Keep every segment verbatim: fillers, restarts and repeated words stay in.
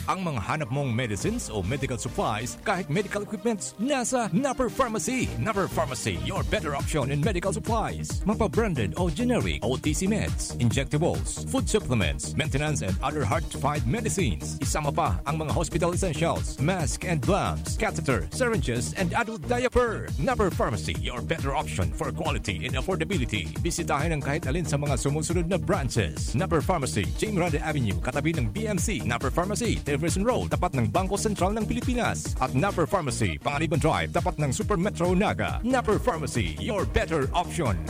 Ang mga hanap mong medicines o medical supplies, kahit medical equipments, nasa Napper Pharmacy. Napper Pharmacy, your better option in medical supplies. Mapa-branded o generic, O T C meds, injectables, food supplements, maintenance and other hard-to-find medicines. Isama pa ang mga hospital essentials, mask and gloves, catheter, syringes, and adult diaper. Napper Pharmacy, your better option for quality and affordability. Bisitahin ang kahit alin sa mga sumusunod na branches. Napper Pharmacy, Jing Grande Avenue, katabi ng B M C. Napper Pharmacy, Jefferson Road, tapat ng Bangko Sentral ng Pilipinas. At Napper Pharmacy, Panganiban Drive, tapat ng Super Metro Naga. Napper Pharmacy, your better option.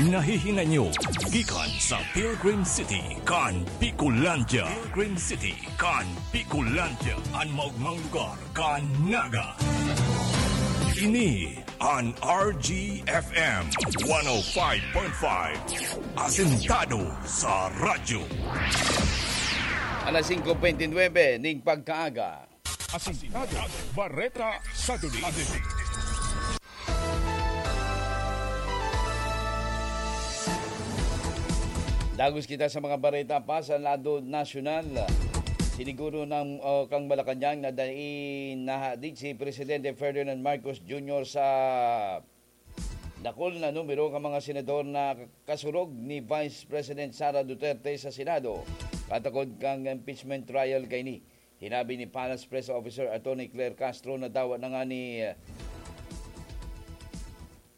Nahihinay nyo gikan sa Pilgrim City kan Bicolandia. Pilgrim City kan Bicolandia, an maogmang lugar kan Naga. Ini an R G F M one oh five point five, asentado sa radyo. Alas singko bente nuebe ning pagkaaga. Asintado, Bareta sa Dulig. Dagos kita sa mga bareta pa sa lado nasyonal. Siniguro ng, o, kang Malacañang na dai nahadit si Presidente Ferdinand Marcos Junior sa dakul na numero kan mga senador na kasurog ni Vice President Sara Duterte sa Senado, katakod kan impeachment trial kaini. Hinabi ni Palace Press Officer Attorney Claire Castro na dawa na nga ni, eh,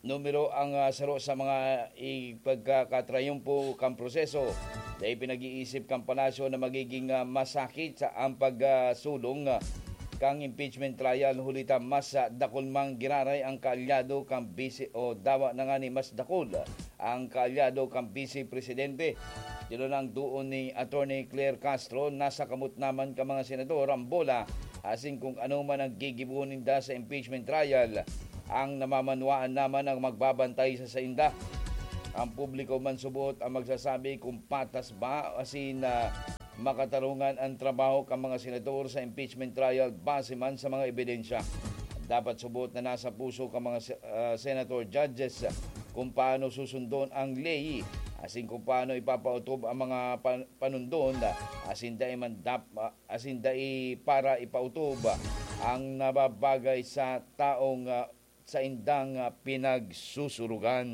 numero ang, ah, saro sa mga ipagkakatrayumpo kan proseso. Dai pinag-iisip kan palasyo na magiging, ah, masakit sa ang pagsulong, ah, kan impeachment trial, huli ta mas, ah, dakul mang giraray ang kaalyado kan bisi o dawa na nga ni mas dakul ang kaalyado kan Vice Presidente. Tinunang doon ni Attorney Claire Castro, nasa kamot naman kan mga senador ang bola, asin kung ano man ang gigibo ninda sa impeachment trial, ang namamanwaan naman ang magbabantay sa sainda. Ang publiko man subot ang magsasabi kung patas ba asin, ah, makatarungan ang trabaho kan mga senador sa impeachment trial base man sa mga ebidensya. Dapat subot na nasa puso kan mga se-, ah, senator judges kung paano susundon ang ley, asin kung paano ipapautob ang mga pan-, panundon, asin dai man dap-, asin dai para ipautob ang nababagay sa taong, ah, saindang, ah, pinagsusurugan.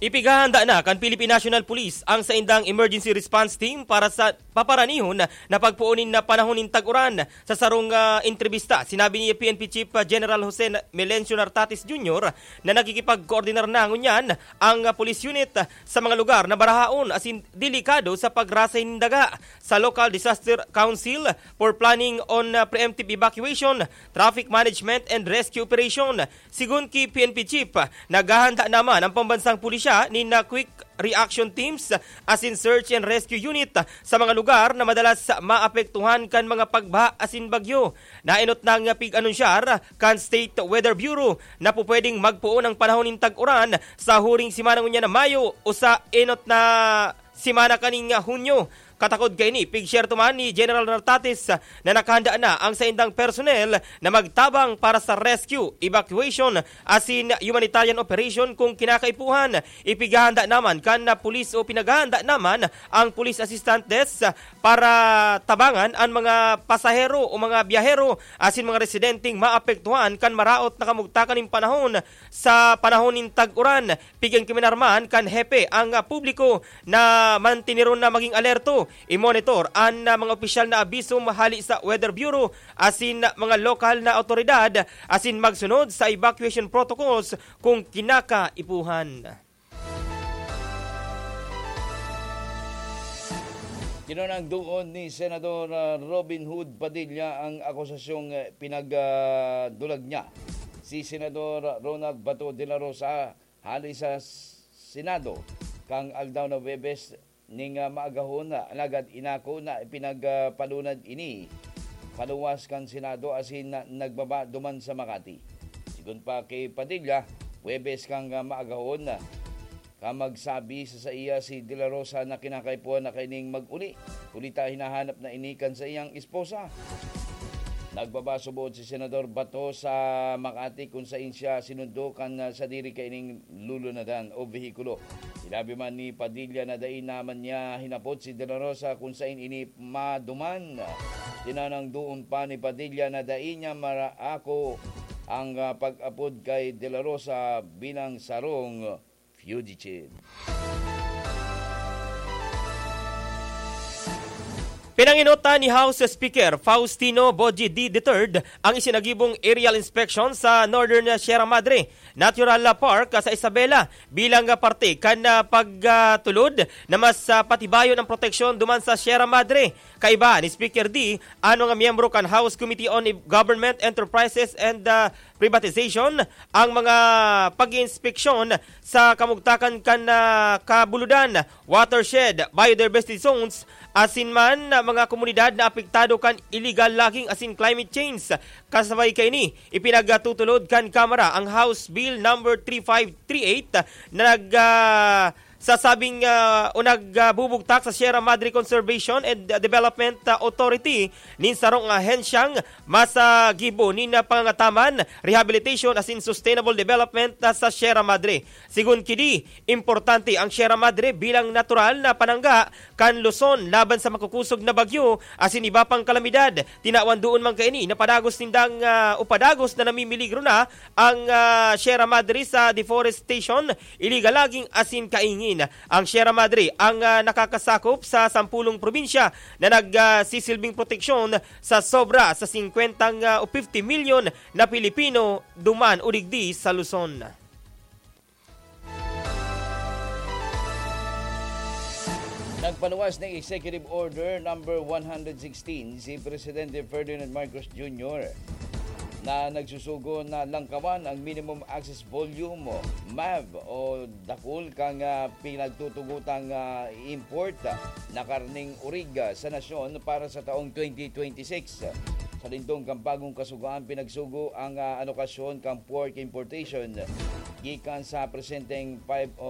Ipighahanda na kan Philippine National Police ang saindang Emergency Response Team para sa paparanihon na pagpoon nin panahon nin tag-uran. Sa sarong, ah, entrebista, sinabi ni P N P Chief, ah, General Jose Melencio Nartates Junior na nakikipagkoordinar na ngunyan ang, ah, police unit, ah, sa mga lugar na barahaon asin delikado sa pagrasay nin daga. Sa Local Disaster Council for Planning on, ah, Preemptive Evacuation, Traffic Management and Rescue Operation, sigon ki P N P Chief, naghahanda naman ang pambansang pulisya nin, ah, Quick Reaction Teams asin Search and Rescue Unit sa mga lugar na madalas maapektuhan kan mga pagbaha asin bagyo. Naenot nang pig-anunsyar kan State Weather Bureau na pupwedeng magpoon ang panahon nin tag-uran sa huring semana ngunyan na Mayo o sa enot na semana kaning Hunyo. Katakod kaini, pigsyerto man ni General Nartates na nakahanda na ang saindang personnel na magtabang para sa rescue, evacuation, asin humanitarian operation kung kinakaipuhan. Ipighahanda naman kan na pulis o pinaghahanda naman ang Police Assistance Desk para tabangan an mga pasahero o mga biyahero asin mga residenteng maapektuhan kan maraot na kamugtakan nin panahon sa panahon nin tag-uran. Pigyan kami narman kan hepe ang, ah, publiko na mantineron na maging alerto, i-monitor an, ah, mga opisyal na abiso hali sa Weather Bureau asin mga lokal na awtoridad asin magsunod sa evacuation protocols kung kinakaipuhan. Tinunang doon ni Senador, ah, Robin Hood Padilla ang akusasyong, eh, pinagdulag niya si Senador Ronald Bato de la Rosa hali sa Senado kan aldaw na Huwebes ning, ah, maagahon, alagad inako na ipinagpalunad ini paluwas kan Senado asin na nagbaba duman sa Makati. Sigon pa ki Padilla, Huwebes kan, ah, maagahon, ah, ka magsabi sa saiya si De La Rosa na kinakaipuhan na kaining mag-uli, huli ta hinahanap na ini kan saiyang esposa. Nagbaba subot si Senador Bato sa Makati kung sain siya sinundo kan, ah, sadiri kaining lulunadan o behikulo. Sinabi man ni Padilla na dai naman niya hinapot si De La Rosa kung sain ini maduman. Tinanang doon pa ni Padilla na dai niya maraako ang, ah, pag-apod kay De La Rosa bilang sarong fugitive. Pinanginutan ni House Speaker Faustino Boji D the third ang isinagibong aerial inspection sa Northern Sierra Madre Natural Park sa Isabela bilang parte kan, ah, pagtulod na mas, ah, patibayon ang proteksyon duman sa Sierra Madre. Kaiba ni Speaker D, ano nga miyembro kan House Committee on Government Enterprises and, ah, Privatization ang mga pag-iinspeksyon sa kamugtakan kan, ah, kabuludan, watershed, biodiversity zones, asin man, ah, mga komunidad na apektado kan illegal logging asin climate change. Kasabay kaini, ipinagtutulod kan Kamara ang House Bill number three five three eight na nag, ah, sasabing, ah, o nagbubugtak sa Sierra Madre Conservation and Development, ah, Authority nin sarong ahensyang mas, ah, gibo nin, ah, pangangataman, rehabilitation asin sustainable development, ah, sa Sierra Madre. Sigon ki D, importante ang Sierra Madre bilang natural na panangga kan Luzon laban sa makukusog na bagyo asin iba pang kalamidad. Tinawan doon man kaini na padagos nindang, ah, o padagos na namimiligro na ang, ah, Sierra Madre sa deforestation, illegal logging asin kaingin. Ang Sierra Madre ang, ah, nakakasakop sa sampulong probinsya na nag, ah, sisilbing proteksyon sa sobra sa singkwentang, ah, o fifty milyon na Pilipino duman o digdi sa Luzon. Nagpaluwas ng Executive Order number one hundred sixteen si Presidente Ferdinand Marcos Junior na nagsusugo na langkawan ang minimum access volume, MAV, o dakul kan, ah, pinagtutugotang, ah, import, ah, na karneng orig, ah, sa nasyon para sa taong twenty twenty-six. Sa lindong kan bagong kasugoan, pinagsugo ang, ah, alokasyon kan pork importation gikan sa presenteng five